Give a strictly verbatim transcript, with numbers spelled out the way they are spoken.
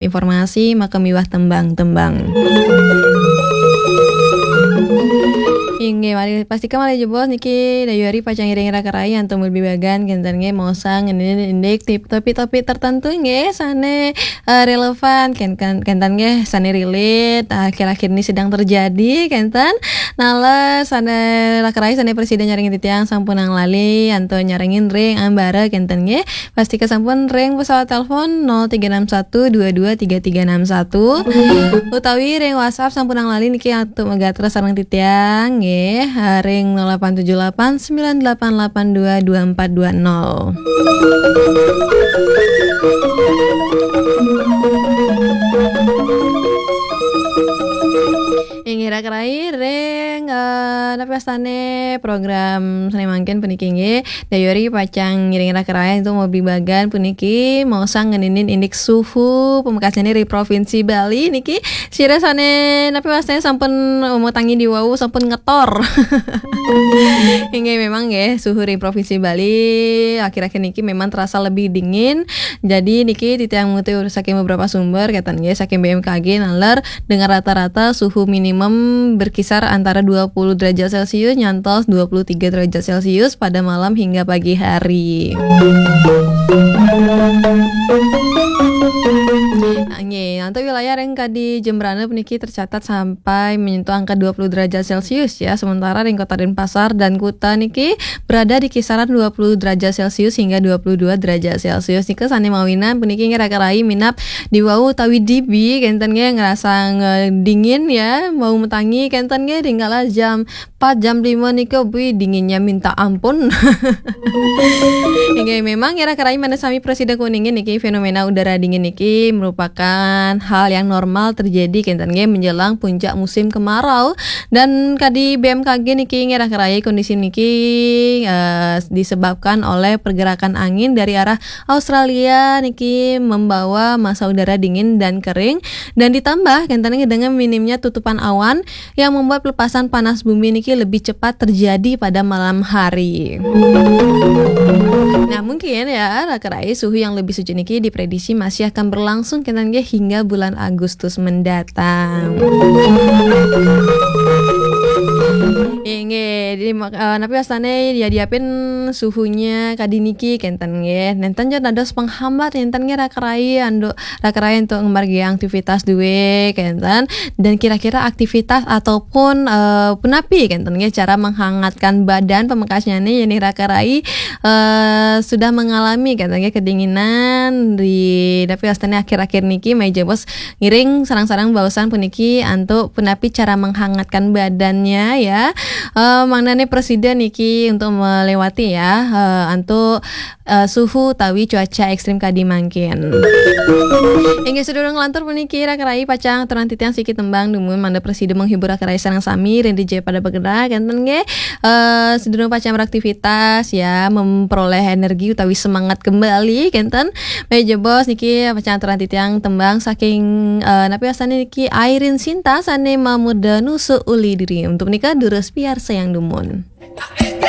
Informasi maka miwah tembang-tembang. Inggih, malih pastika malih jebos niki dayuh ari pacang ngiring raka rai antuk mabebagan kenten nggih maosang ngenin indik tip topik-topik tertentu nggih sane eh, relevan kenten kenten nggih sane relate akhir-akhir ini sedang terjadi kenten. Nala sane raka rai sane presiden nyarengin titiang sampun nang lali antuk nyarengin ring ambara kenten nggih. Pastika sampun ring pesawat telepon nol tiga enam satu dua dua tiga tiga enam satu utawi ring WhatsApp sampun nang lali niki antuk megatra sareng titiang nggih, eh, ring nol delapan tujuh delapan sembilan delapan delapan dua dua empat dua nol. Inggih raka rai ring eh, napi wastane program sane mangkin puniki nggih. Dayuh ari pacang ngiring raka rai antuk mabebagan puniki maosang ngeninin indik suhu pamekasane ring Provinsi Bali niki sira sane napi wastane sampun umetangi diwau sampun ngetor. Inggih memang nggih suhu ring Provinsi Bali akhir-akhir niki memang terasa lebih dingin. Jadi niki titiang mengutip saking beberapa sumber kenten nggih saking B M K G naler dengan rata-rata suhu minimum berkisar antara dua puluh derajat Celcius nyantos dua puluh tiga derajat Celcius pada malam hingga pagi hari. Nggih, antuk wilayah ring kadi Jembrana puniki tercatat sampai menyentuh angka dua puluh derajat Celcius ya, sementara ring Kota Denpasar dan Kuta niki berada di kisaran dua puluh derajat Celcius hingga dua puluh dua derajat Celcius. Nika sane mawinan puniki nggih raka rai minab diwau utawi dibi kenten nggih ngerasa nge- dingin ya, mau metangi kenten nggih ringkala jam empat jam lima nika bui dinginnya minta ampun. Inggih memang nggih raka rai mangda sami prasida kuningin niki fenomena udara dingin niki merupakan hal yang normal terjadi kenten nggih menjelang puncak musim kemarau dan kadi B M K G niki nggih raka rai kondisi niki eh, disebabkan oleh pergerakan angin dari arah Australia niki membawa massa udara dingin dan kering dan ditambah kenten nggih dengan minimnya tutupan awan yang membuat pelepasan panas bumi niki lebih cepat terjadi pada malam hari. Nah, mungkin ya, raka rai suhu yang lebih sejuk niki diprediksi masih akan berlangsung kenten nggih hingga bulan Agustus mendatang. Inggih, jadi mak- eh, napi wastane ya diapin suhunya kadi niki kenten nggih. Nenten jo dados penghambat nenten nggih raka rai antuk raka rai antuk ngemargi aktivitas duwe kenten. Dan kira-kira aktivitas ataupun eh, punapi kenten nggih cara menghangatkan badan pamekasnyane yen raka rai eh, sudah mengalami kenten nggih kedinginan di napi wastane akhir-akhir niki malih jebos ngiring sareng-sareng baosan puniki antuk punapi cara menghangatkan badannya ya. Eh, mangdane prasida niki untuk melewati ya eh, antuk eh, suhu utawi cuaca ekstrim kadi mangkin. Inggih sadurung nglantur puniki raka rai pacang aturang titiang siki tembang dumun mangda prasida menghibur raka rai sareng sami ring D J pada bergerak kenten nggih. Eh, sadurung pacang beraktivitas ya memperoleh energi utawi semangat kembali kenten. Malih jebos niki pacang aturang titiang tembang saking eh, napi wastane niki Airin Sinta sane mamurda nusuk uli diri. Untuk menika durus piarsa yang dumun.